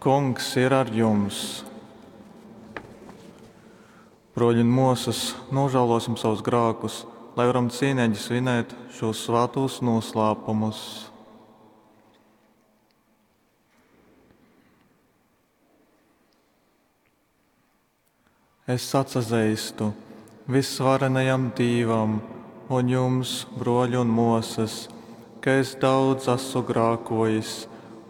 Kungs ir ar jums! Bruoļi un muosys, nožēlosim savus grākus, lai varam cīnīgi svinēt šos svātos noslēpumus. Es atsazeistu visvarenajam Dīvam un jums, bruoļi un muosys, ka es daudz esmu grākojis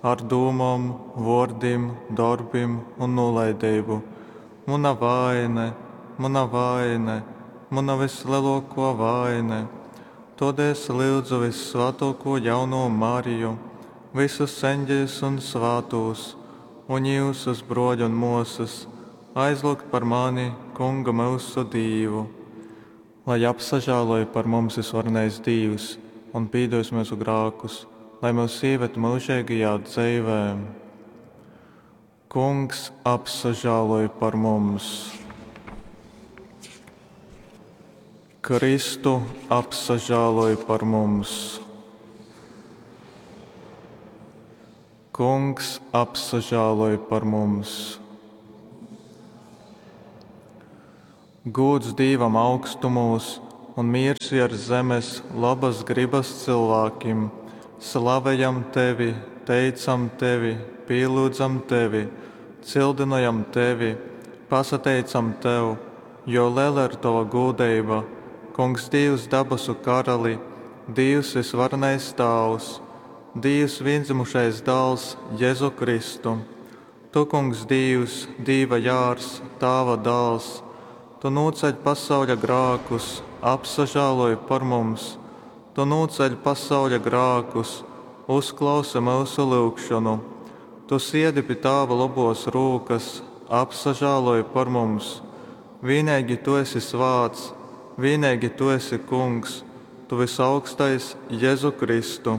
ar dūmom, vuordim, dorbim un nūlaideibu. Muna vaine, muna vaine, muna visleluokuo vaine. Todēļ es lyudzu vissvātuokū jaunū Mariju, vysus eņģeļus un svātūs, un jiusus, bruoļi un muosys, aizlyugt par mani Kungu myusu Dīvu. Lai apsažāloj par mums visvarenais Dīvs un pīdos myusu grākus, lai myus ieved myužīgajā dzeivē. Kungs apsažāloj par mums! Kristu apsažāloj par mums! Kungs apsažāloj par mums! Gūds Dīvam augstumūs un miers viers zemes labas gribas cilvēkiem. Slavejam tevi, teicam tevi, pīlyudzam tevi, cildynojam tevi, pasateicam tev, jo lela ir tova gūdeiba, Kungs Dīvs dabasu karali, Dīvs visvarenais Tāvs, Dīvs vīndzimušais dāls Jezu Kristu. Tu, Kungs Dīvs, Dīva jārs, Tāva dāls, tu nūceļ pasauļa grākus, apsažāloj par mums. Tu nūceļ pasauļa grākus, uzklausi myusu lyugšonu. Tu siedi pi Tāva lobos rūkas, apsažāloj par mums. Vīneigi tu esi svāts, vīneigi tu esi Kungs, tu vysaugstais Jezu Kristu,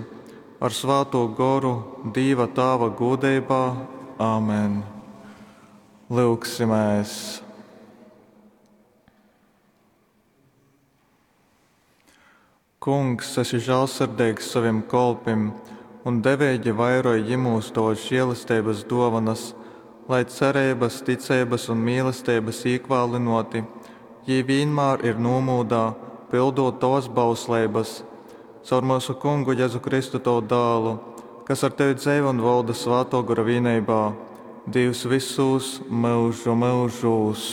ar Svātū Goru, Dīva Tāva gūdeibā. Āmen. Lyugsimēs! Kungs, esi žālsirdīgs saviem kolpim un deveigi vairoj jimūs tovas žēlestības dovanas, lai cerības, ticeibas un mīlestības īkvālinoti, jī vienmēr ir nomūdā, pildot tovas bausleibas. Caur mūsu kungu Jēzu Kristu tavu dālu, kas ar tevi dzeivo un valda svāto gora vienībā, Dievs visos mūžu mūžos.